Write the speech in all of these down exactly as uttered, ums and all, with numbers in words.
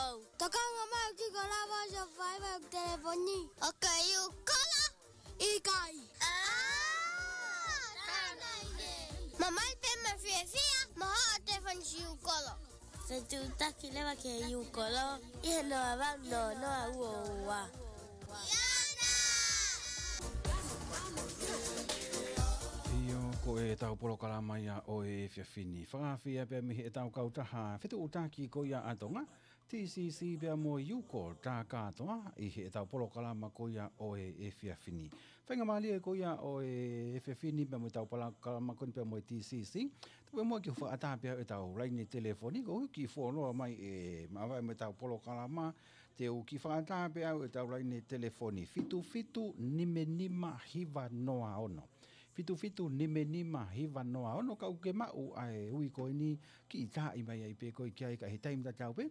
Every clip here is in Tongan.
Tokanga mai ki ko lava ʻo fai mai telefoni. ʻOku ke ʻi Ukolo? ʻIkai. ʻĀ, tānaki. Mamahi pē mo fiefia, mo hoʻo telefoni ki Ukolo. Fetuʻutaki leva ki he Ukolo, ʻi he noa valu noa noa ua ua. ʻIo, ko ʻetau polokalama ia ʻo e efiafi ni. Fakaafeʻi pea mei heʻetau kautaha fetuʻutaki ko ia ʻa Tonga, T C C pea mo Ukolo, tā kātoa ʻi heʻetau polokalama ko ia ʻo e efiafi ni. Faingamālie ko ia ʻo e efiafi ni pea mo ʻetau polokalama ko eni pea mo e T C C. Tau pē muʻa ke fakaʻatā pē ʻetau laine telefoni, ko e kiʻi fuoloa mai ʻe māvae mo ʻetau polokalama, te u kiʻi fakaʻatā pē ʻetau laine telefoni, fitu fitu nima nima hiva noa ono. Fitu fitu nima nima hiva noa ono, ka ʻoku ke maʻu ʻa e ui ko eni, kiʻi taaʻi mai ai pē koe ki ai, ka ʻi he taimi tatau pē,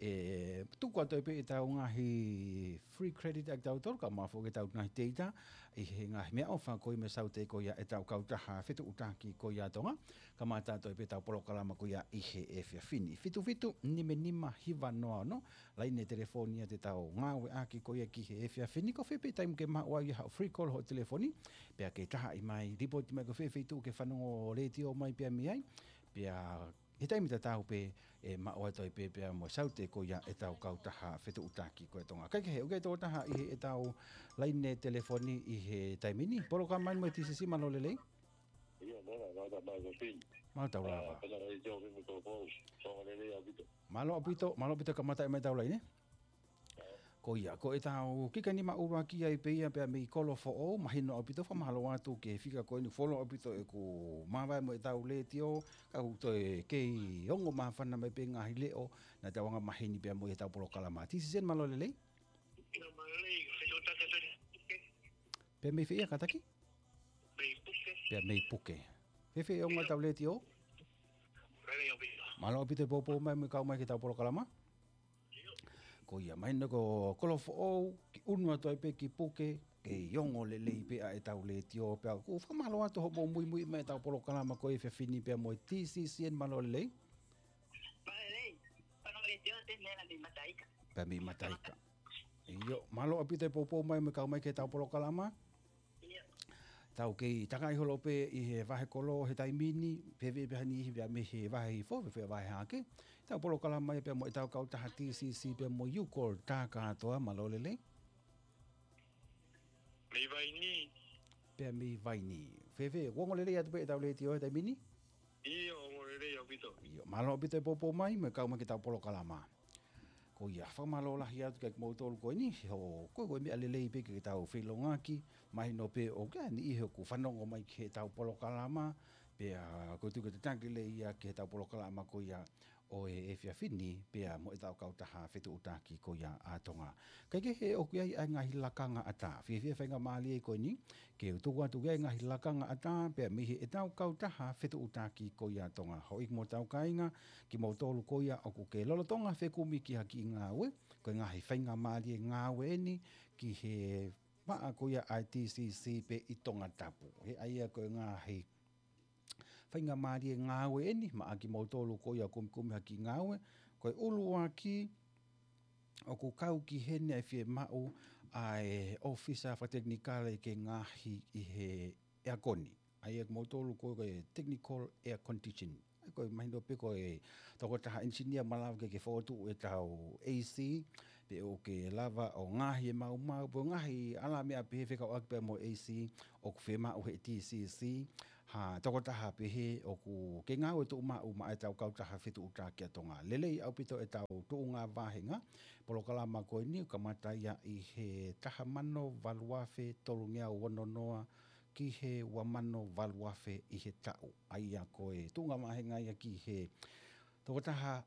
ʻe tuku atu ai pē ʻetau ngaahi free credit ʻa kitautolu, kae ʻumaʻā foki ʻetau ngaahi teita, ʻi he ngaahi meʻaʻofa ko ia mo e saute ko ia ʻetau kautaha fetuʻutaki ko ia ʻa Tonga, kamata atu ai pē ʻetau polokalama ko ia ʻi he efiafi ni. Fitu fitu nima nima hiva noa ono, laine telefoni ia te tau ngāueʻaki ko ia ki he efiafi ni, ko fē pē taimi ʻoku ke maʻu ai haʻo free call hoʻo telefoni, pea ke taaʻi mai, lipoti mai ko fē feituʻu ʻoku ke fanongo letiō mai pea mei ai, pea ʻi he taimi tatau pē ʻe maʻu atu ai pē pea mo e saute ko ia ʻetau kautaha fetuʻutaki ko ia ʻa Tonga. Kae kehe, ʻoku ʻi ai e tokotaha ʻi heʻetau laine telefoni ʻi he taimi ni, polokalama mo e T C C, mālō e lelei. ʻIo, mālō, mālō, mālō, Fini. Mālō tau lava. Ā, pena rai teo, Fini, ko, ko, ko, lelei ʻaupito. Mālō ʻaupito, mālō ʻaupito kamata mai ʻetau laine. Ko ia, ko ʻetau kiʻi nima ʻuluaki ai pē ia pea mei Kolofoʻou, mahino ʻaupito, fakamālō atu ki he fika ko eni, fuoloa ʻaupito ʻeku māvae mo ʻetau letiō, ka ʻoku toe kei ongo māfana mai pē ngaahi leʻo, naʻa tau anga maheni pea mo ʻetau polokalama. T C C, mālō e lelei. Ina mālō e lelei, fetuʻutaki atu ni. Pea mei fē ia kātaki? Mei Puke. Pea mei Puke. Fēfē e ongo ʻetau letiō? Lelei ʻaupito. Mālō ʻaupito e poupou mai mo e kau mai ki heʻetau polokalama. Ko ia, mahino ko Kolofoʻou, kiʻi ʻunu atu ai pē ki Puke, kei ongo lelei pē ʻa ʻetau letiō, pea ʻoku fakamālō atu hoʻomou muimui mai ʻetau polokalama ko e efiafi ni pea mo e T C C N, mālō e lelei. Mālō e lelei, fanongo letiō te nela mei Mataika. Pea mei Mataika. ʻIo, mālō ʻaupito e poupou mai mo e kau mai ki heʻetau polokalama. ʻIo. Tau kei takaʻi holo pē ʻi he vahe kolo he taimi ni, fēfē pē ha niʻihi pea mei he vahe hifo, fēfē vahe hake. Tau polokalama ia pea mo ʻetau kautaha T C C pea mo Ukolo, tā kātoa, mālō e lelei. Mei Vaini. Pea mei Vaini. Fēfē, ʻoku ongo lelei atu pē ʻetau letiō he taimi ni? ʻIo, ongo lelei ʻaupito. ʻIo, mālō ʻaupito e poupou mai mo e kau mai ki heʻetau polokalama. Ko ia, fakamālō lahi atu kiate kimoutolu ko eni, he ko e, ko e meʻa lelei pē ke tau feʻiloaki, mahino pē ʻoku ʻi ai e niʻihi ʻoku fanongo mai ki heʻetau polokalama, pea ʻoku ou tui ʻoku tataki lelei ia ki heʻetau polokalama ko ia ʻo e efiafi ni, pea mo ʻetau kautaha fetuʻutaki ko ia ʻa Tonga. Kae kehe, ʻoku ʻi ai ʻa e ngaahi lakanga ʻatā. Fiefia faingamālie ko eni, ke u tuku atu ki ai e ngaahi lakanga ʻatā, pea mei heʻetau kautaha fetuʻutaki ko ia ʻa Tonga. Houʻeiki mo hotau kāinga, kimoutolu ko ia ʻoku ke lolotonga fekumi ki ha kiʻi ngāue, ko e ngaahi faingamālie ngāue eni ki he vaʻa ko ia ʻa e T C C pē ʻi Tongatapu. He ʻa ia ko e ngaahi faingamālie ngāue eni, maʻa kimoutolu ko ia ʻoku kumikumi ha kiʻi ngāue, ko e ʻuluaki ʻoku kau ki heni ʻa e fiemaʻu ʻa e ʻōfisa fakatekinikale ke ngaohi ʻi he ʻeakoni. ʻA ia kimoutolu ko e technical air condition. ʻA ia ko e mahino pē ko e tokotaha engineer malava ke ke fokotuʻu ʻetau A C, pe ʻoku ke lava ʻo ngaohi e maumau, pe ʻoku ngaohi ʻalā meʻa pehē fekauʻaki pea mo e A C, ʻoku fiemaʻu he T C C, ha tokotaha pehē ʻoku ke ngāue tuʻumaʻu maʻa ʻetau kautaha fetuʻutaki ʻa Tonga. Lelei ʻaupito ʻetau tuʻunga vāhenga, polokalama ko eni ʻoku kamata ia ʻi he taha mano valu afe tolungeau ono noa ki he ua mano valu afe ʻi he taʻu. ʻA ia ko e tuʻunga vāhenga ia ki he tokotaha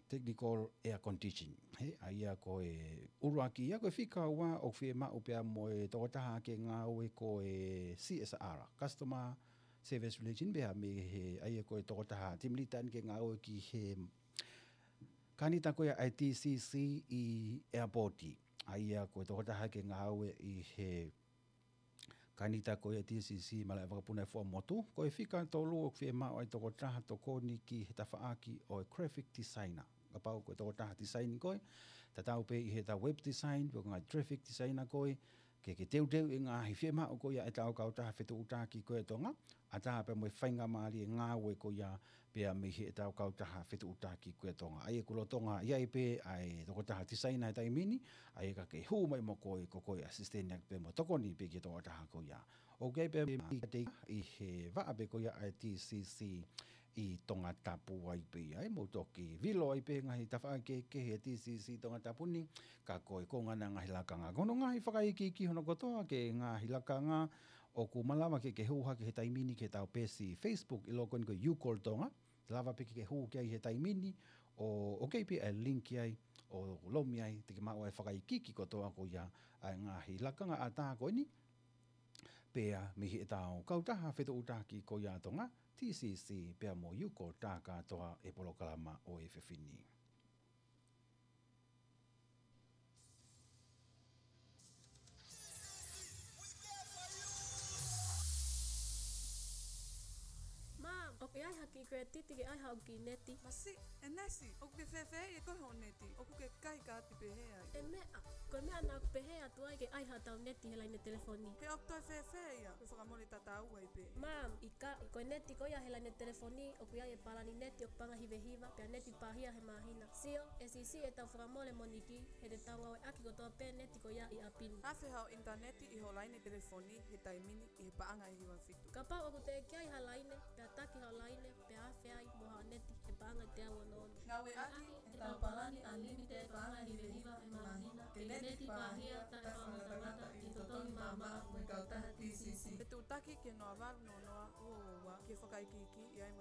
technical air condition. He, ʻa ia ko e ʻuluaki ia, ko e fika ua ʻoku fiemaʻu pea mo e tokotaha ke ngāue ko e C S R, Customer Service Relation, pea mei he, ʻa ia ko e tokotaha team leader ke ngāue ki he kanita ko ia ʻa e T C C ʻi airport. ʻA ia ko e tokotaha ke ngāue ʻi he kanita ko ia T C C Malaʻe Vakapuna ʻi Fuaʻamotu. Ko e fika tolu ʻoku fiemaʻu ai tokotaha tokoni ki he tafaʻaki ʻo e graphic designer. kapau ko e tokotaha tisaini koe, tatau pē ʻi heʻetau web design, pe ko e ngaahi graphic designer koe, ke ke teuteu e ngaahi fiemaʻu ko ia ʻetau kautaha fetuʻutaki ko ia ʻa Tonga, ʻatā pē mo e faingamālie ngāue ko ia pea mei heʻetau kautaha fetuʻutaki ko ia ʻa Tonga. ʻA ia ʻoku lolotonga ʻi ai pē ʻa e tokotaha tisaina he taimi ni, ʻa ia ka ke hū mai mo koe, ko koe ʻe asisiteni ʻaki pē mo tokoni pē ki he tokotaha ko ia. ʻOku ʻi ai pē ʻa e ʻi he vaʻa pē ko ia ʻa e T C C ʻi Tongatapu ai pē ia, ʻe mou toki vilo ai pē ngaahi tafaʻaki kehekehe ʻa e T C C Tongatapu ni, ka ko e konga ʻena ngaahi lakanga. Ko hono ngaahi fakaikiiki hono kotoa ki he ngaahi lakanga ʻoku malava ke ke hū hake he taimi ni ki heʻetau peesi Facebook ʻi loto ko eni ko e YouCall Tonga. Lava pē ke ke hū ki ai he taimi ni ʻo, ʻoku ʻi ai pē ʻa e link ai ʻo lomi ai te ke maʻu ʻa e fakaikiiki kotoa ko ia ʻa e ngaahi lakanga ʻatā ko eni. Pea mei heʻetau kautaha fetuʻutaki ko ia ʻa Tonga, T C C, pea mo YouCall, tā kātoa e polokalama ʻo e efiafi ni. Mom, ʻoku ʻi ai ha kiʻi credit ke ʻai haʻaku kiʻi neti? Masiʻi, ʻe Nesi, ʻoku ke fēfēʻi ʻe koe hoʻo neti, ʻoku ke kai kaati pehē ai? ʻE meʻa, ko e meʻa naʻa ku pehē atu ai ke ʻai haʻatau neti he laine telefoni. He ʻoku toe fēfē ia, ko e fakamole tatau ai pē. Mom, ʻikai, ko e neti ko ia he laine telefoni, ʻoku ʻi ai e palani neti ʻoku paʻanga ʻe hiva hiva, pea neti pāhia he māhina. Sio, ʻe siʻisiʻi ʻetau fakamole mo Niki, he te tau ngāueʻaki kotoa pē neti ko ia ʻi ʻapi ni. Afe haʻo ʻinitaneti ʻi hoʻo laine telefoni he taimi ni ʻi he paʻanga ʻe hiva fitu. Kapau ʻoku teʻeki ai ha laine, pea taki haʻo laine, pea afe ai mo haʻo neti he paʻanga ʻe teau ono ono. Ngāueʻaki ʻetau palani unlimited paʻanga ʻe hiva hiva he māhina, ke neti pāhia taʻe fakamatamata ʻi he totongi maʻamaʻa mo e kautaha T C C. Fetuʻutaki ki he noa valu noa noa ua ua ua ki he fakaikiiki ʻi ai mo